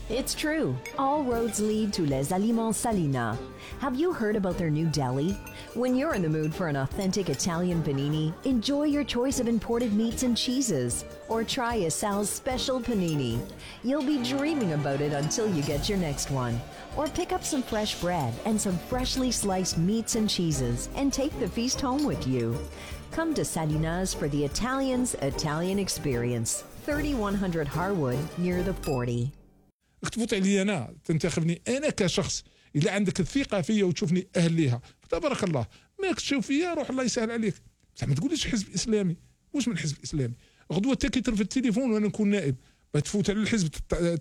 It's true. All roads lead to Les Aliments Salina. Have you heard about their new deli? When you're in the mood for an authentic Italian panini, enjoy your choice of imported meats and cheeses. Or try a Sal's special panini. You'll be dreaming about it until you get your next one. Or pick up some fresh bread and some freshly sliced meats and cheeses and take the feast home with you. Come to Salina's for the Italian experience. 3100 Harwood near the 40. تفوت علي انا تنتخبني انا كشخص، الا عندك الثقه فيا وتشوفني اهل ليها فتبارك الله، ماك تشوف فيا روح الله يسهل عليك. بصح ما تقوليش حزب اسلامي، واش من حزب اسلامي؟ غدوه حتى كي ترفد التليفون وانا نكون نائب تفوت على الحزب،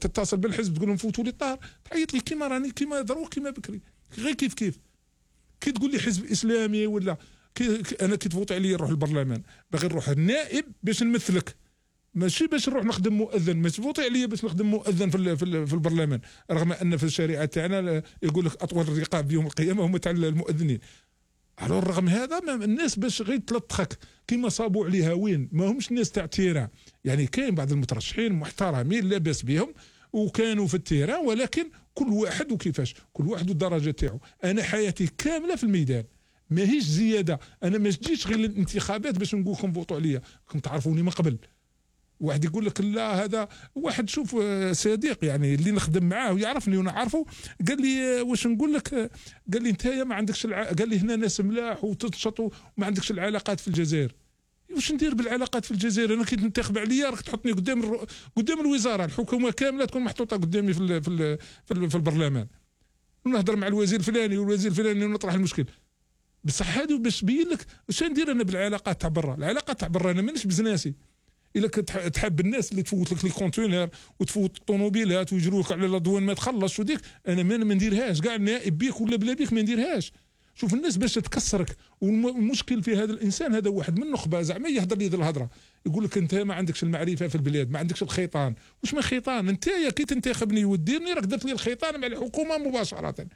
تتصل بالحزب تقول لهم فوتوا لي الطار، تعيط لي كيما راني كيما دروك كيما بكري، غير كيف كي تقول لي حزب اسلامي ولا انا كي تفوت عليا نروح البرلمان باغي نروح النائب باش نمثلك، ماشي باش نروح نخدم مؤذن. ما تفوتي عليا باش نخدم مؤذن في البرلمان، رغم ان في الشريعه تاعنا يقول لك اطول الرقاب يوم القيامه هم تاع المؤذنين. على الرغم هذا الناس باش غير تلطخك كيما صابوا عليها وين، ما همش الناس تاع التيران. يعني كاين بعض المترشحين محترمين لاباس بهم وكانوا في التيران، ولكن كل واحد وكيفاش، كل واحد والدرجه تاعو. انا حياتي كامله في الميدان، ماهيش زياده. انا ما جيتش غير الانتخابات باش نقول لكم فوتوا عليا، كنت تعرفوني من قبل. واحد يقول لك لا، هذا واحد شوف صديق يعني اللي نخدم معاه ويعرفني وانا عارفه، قال لي واش نقول لك، قال لي انت ما عندكش قال لي هنا ناس ملاح وتنشط وما عندكش العلاقات في الجزائر. واش ندير بالعلاقات في الجزائر؟ انا كي تنتخب عليا راك تحطني قدام الوزاره، الحكومه كامله تكون محطوطه قدامي في البرلمان، ونهضر مع الوزير الفلاني والوزير الفلاني ونطرح المشكل. بصح هذا باش تبين لك واش ندير انا بالعلاقات تاع برا. العلاقات تاع برا انا مانيش بزناسي. الا كنت تحب الناس اللي تفوت لك لي كونتينر وتفوت الطوموبيلات ويجروك على الادوان ما تخلصش وديك، انا ما نديرهاش كاع، نائب بيك ولا بلا بيك ما نديرهاش. شوف الناس باش تكسرك، والمشكل في هذا الانسان هذا واحد من النخبه زعما يهضر لي الهضره، يقول لك انت ما عندكش المعرفه في البلاد، ما عندكش الخيطان. واش من خيطان؟ انت كي تنتخبني وديرني راك درت لي الخيطان مع الحكومه مباشره.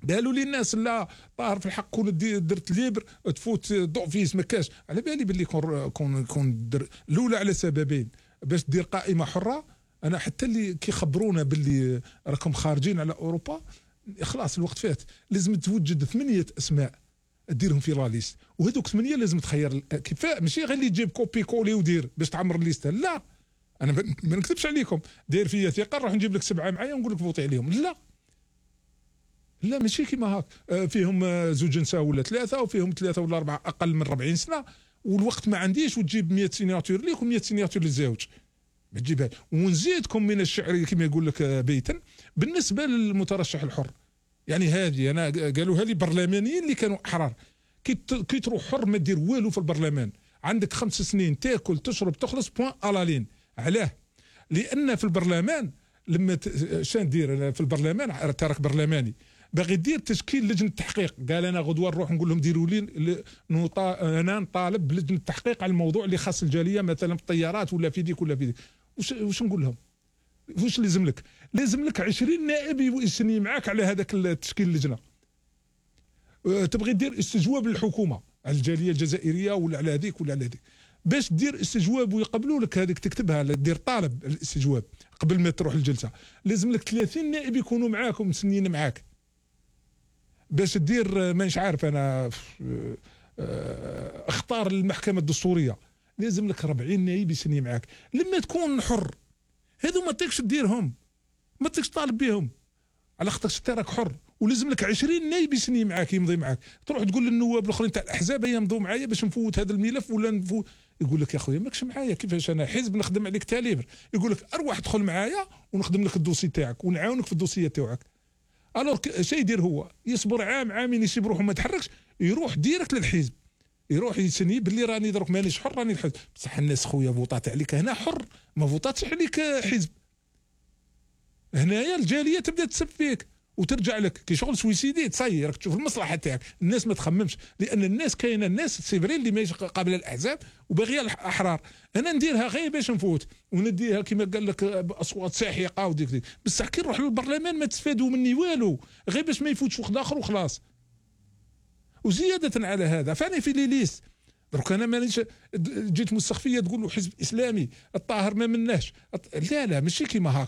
قالوا لي الناس لا طاهر في الحق كون درت ليبر تفوت ضعفيس ما كاش. على بالي باللي كون الاولى على سببين، باش دير قائمه حره. انا حتى اللي كيخبرونا باللي راكم خارجين على اوروبا، خلاص الوقت فات. لازم توجد 8 اسماء ديرهم في لا ليست، وهذوك 8 لازم تخير كيفاه، ماشي غير اللي تجيب كوبي كولي ودير باش تعمر الليسته. لا انا ما نكذبش عليكم، داير فيا ثقه نروح نجيب لك 7 معايا ونقول لك فوتي عليهم. لا ماشي كيما هاك، فيهم زوج نساء ولا 3، وفيهم 3 ولا 4 اقل من 40 سنه، والوقت ما عنديش، وتجيب 100 سيناتور ليك و100 سيناتور للزوج، ما تجيبها. ونزيدكم من الشعر كما يقول لك بيتا بالنسبه للمترشح الحر. يعني هذه انا قالوها لي برلمانيين اللي كانوا احرار، كي تروح حر ما دير والو في البرلمان، عندك 5 سنين تاكل تشرب تخلص بوان الالين. علاه؟ لان في البرلمان لما شان دير في البرلمان ترك برلماني باغي دير تشكيل لجنه تحقيق. قال انا غدوه نروح نقول لهم ديروا لي انا نطالب بلجنه تحقيق على الموضوع اللي خاص الجاليه، مثلا في الطيارات ولا في ديك ولا في ديك. واش نقول لهم؟ واش لازم لك؟ لازم لك 20 نائب يسني معاك على هذاك التشكيل اللجنه. تبغي دير استجواب للحكومه على الجاليه الجزائريه ولا على هذيك ولا على هذيك، باش دير استجواب ويقبلوا لك هذيك تكتبها، دير طالب الاستجواب قبل ما تروح الجلسه. لازم لك 30 نائب يكونوا معاك ومسنين معاك. باش دير مانيش عارف انا اختار المحكمه الدستوريه، لازم لك 40 نائب يسني معاك. لما تكون حر هذو ما تقدرش تديرهم، ما تقدرش تطالب بهم على خاطر انت راك حر، ولازم لك 20 نائب يسني معاك يمضي معاك. تروح تقول للنواب الاخرين تاع الاحزاب يمضوا معايا باش نفوت هذا الملف ولا نفوت، يقول لك يا خويا ماكش معايا، كيفاش انا حزب نخدم عليك تاليفر؟ يقول لك اروح ادخل معايا ونخدم لك الدوسي تاعك ونعاونك في الدوسيه تاعك. الوغ شي يدير هو يصبر عام عامين يسيب روحه ما يتحركش، يروح ديريكت للحزب، يروح يسني باللي راني دروك مانيش حر راني الحزب. بصح الناس خويا فوطات عليك هنا حر، ما فوطاتش عليك حزب. هنايا الجاليه تبدا تسب فيك وترجع لك كي شغل سويسيدي تصير راك تشوف المصلحه تاعك. الناس ما تخممش، لان الناس كاينه الناس سيفرين اللي ماشي قابله الاحزاب وباغيه الاحرار. انا نديرها غير باش نفوت ونديها كما قال لك باصوات ساحقه وديك بصح كي نروح للبرلمان ما تستفادوا مني والو، غير باش ما يفوتش وقت اخر وخلاص. وزياده على هذا فانا في لي ليست دروك انا مانيش جيت مستخفيه تقول له حزب اسلامي الطاهر ما مناش. لا ماشي كيما هاك.